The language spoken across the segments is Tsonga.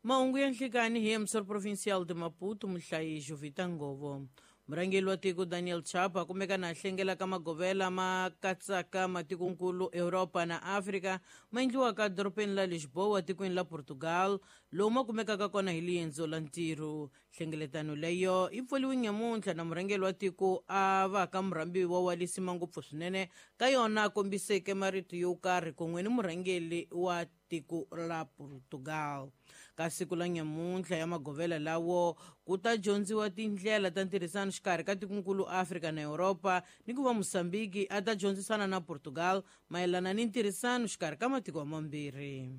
Mahungu ya nhlikani hi emissor provincial de Maputo, muhlayi Jovita Ngovo. Murhangeri wa tiko Daniel Chapo a kumeka na hlengela ka magovela ma katsaka matikonkulu Europa na Afrika ma endliwaka dorobeni la Lisboa tikweni la Portugal, lowu ma kumekaka kona hi liendzo la ntirho. Nhlengeletano leyo yi pfuriwe nyamuntlha na murhangeri wa tiko a va ka murhambiwa wa lisima ngopfu swinene ka yona, a kombiseke marito yo karhi kun'we ni murhangeri wa tiko la Portugal. Ka siku la nyamuntlha ya magovela lawo ku ta dyondziwa tindlela ta ntirhisano xikarhi ka tikonkulu Afrika na Europa, ni ku va Mosambiki a ta dyondzisana na Portugal mayelana ni ntirhisano xikarhi ka matiko mambirhi.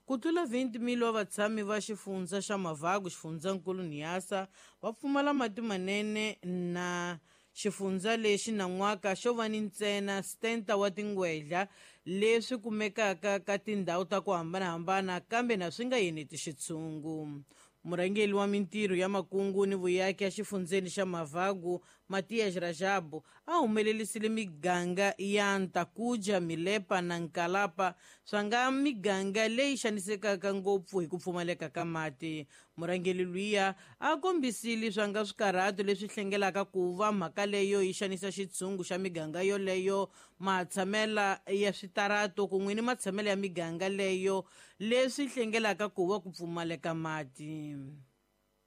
Ku tlula 20,000 wa vatshami va xifundza xa Mavagu, xifundzankulu Niassa, va pfumala mati manene, na xifundza lexi nan'waka xo va ni ntsena 70 wa tingwedla leswi kumekaka ka tindhawu ta ku hambanahambana, kambe na swi nga yeneti xitshungu. Murhangeri wa mintirho ya makungu ni vuyaki ya xifundzeni xa Mavagu, Matias Rajabu, a humelelisile miganga ya Ntakuja, Milepa na Nkalapa swa nga miganga leyi xanisekaka ngopfu hi ku pfumaleka ka mati. Murhangeri luya a kombisile swa nga swikarhato leswi hlengelaka ku va mhaka leyo yi xanisa xitshungu xa miganga yoleyo, matshamela ya switarato kun'we ni matshamelo ya miganga leyo leswi hlengelaka ku va ku pfumaleka mati.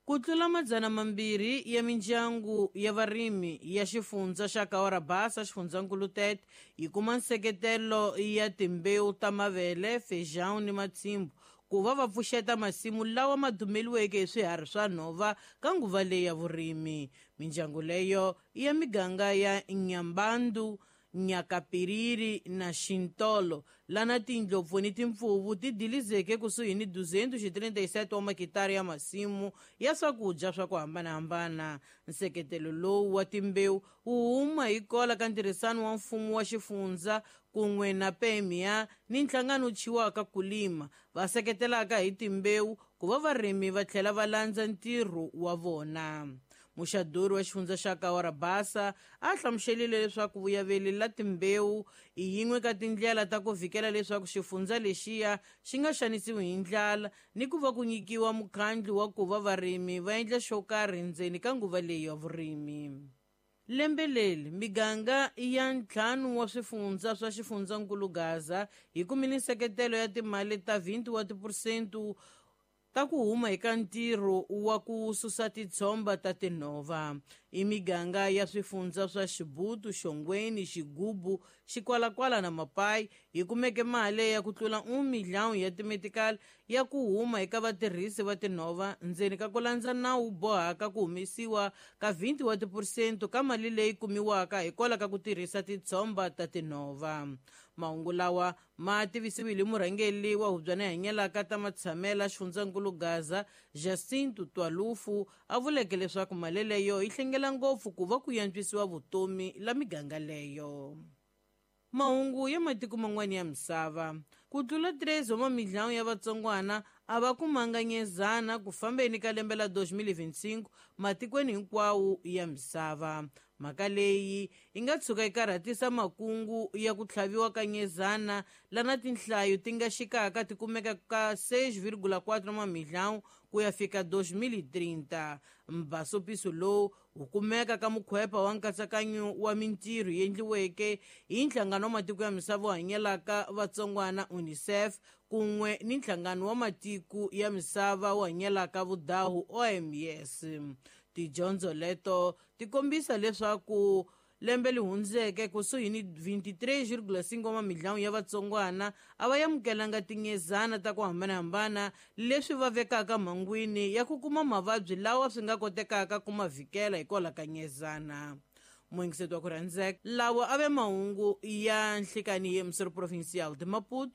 Ku tlula 200 ya mindyangu ya varimi ya xifundza xa Kawarabasa, xifundzankulu Tete, yi kuma nseketelo ya timbewu ta mavele, feijão ni matshimbu ku va va pfuxeta masimu lawa ma dumeliweke hi swiharhi swa nhova ka nguva leyi ya vurimi. Mindyangu leyo i ya miganga ya Nyambandu, Nyakapiriri na Xintolo, lana tindlopfu ni timpfuvu ti dilizeke kusuhi ni 237 wa makitara ya masimu ya swakudya swa ku hambanahambana. Nseketelo lowu wa timbewu wu huma hi kola ka ntirhisano wa mfumo wa xifundza kun'we na PMA ni nhlangano wu thyiwaka Kulima, va seketelaka hi timbewu ku va varimi va tlhela va landza ntirho wa vona. Muxaduri wa xifundza xa Kawarabasa a hlamuselile leswaku vuyaveli la timbewu i yin'we ka tindlela ta ku vhikela leswaku xifundza lexiya xi nga xanisiwi hi ndlala, ni ku va ku nyikiwa mukhandlu wa ku va varimi va endla xo karhi ndzeni ka nguva leyi ya vurimi. Lembe leri miganga ya 5 wa swifundza swa xifundzankulu Gaza yi kumile nseketelo ya timali ta 20 wa tiphesente ta ku huma eka ntirho wa ku susa titshomba ta tinhova. I miganga ya swifundza swa Xibutu, Xongweni, Xigubu, Xikwalakwala na Mapai yi kumeke mali ya ku tlula 1 milhão ya timetikali ya ku huma eka vatirhisi va tinhova ndzeni ka ku landza nawu bohaka ku humesiwa ka 20 wa tiphesente ka mali leyi kumiwaka hikwalaho ka ku tirhisa titshomba ta tinhova. Mahungu lawa ma tivisiwile murhangeri wa hubyana hanyelaka ta matshamela xifundzankulu Gaza, Jacinto Twalufu, a vuleke leswaku mali leyo yi hlengela ngopfu ku va ku yantswisiwa vutomi la miganga leyo. Mahungu ya matiko man'wana ya misava. Ku tlula 3 wa mamilhão ya vatsongwana a va kumanga nyezana ku fambeni ka lembe la 2025 matikweni hinkwawo ya misava. Mhaka leyi yi nga tshuka yi karhatisa makungu ya ku tlhaviwa ka nyezana lana tinhlayo ti nga xikaka ti kumeka ka 6,4 mamilhão ku ya fika 2030. Mbasopiso lowu wu kumeka ka mukhwepa wa nkatsakanyo wa mintirho yi endliweke hi nhlangano wa matiko ya misava wu hanyelaka vatsongwana UNICEF kun'we ni nhlangano wa matiko ya misava wu hanyelaka vudahu OMS. Tidyondzo leto ti kombisa leswaku lembe lihundzeke kusuhi ni 23,5 wa mamilhão ya vatsongwana a va amukelanga tinyezana ta ku hambanahambana, leswi va vekaka mhangwini ya ku kuma mavabyi lawa swi nga kotekaka ku ma vhikela hikwalaho ka nyezana. Muyingiseti wa ku rhandzeka, lawa a ve mahungu ya nhlikani ye Musori Provincial de Maputo.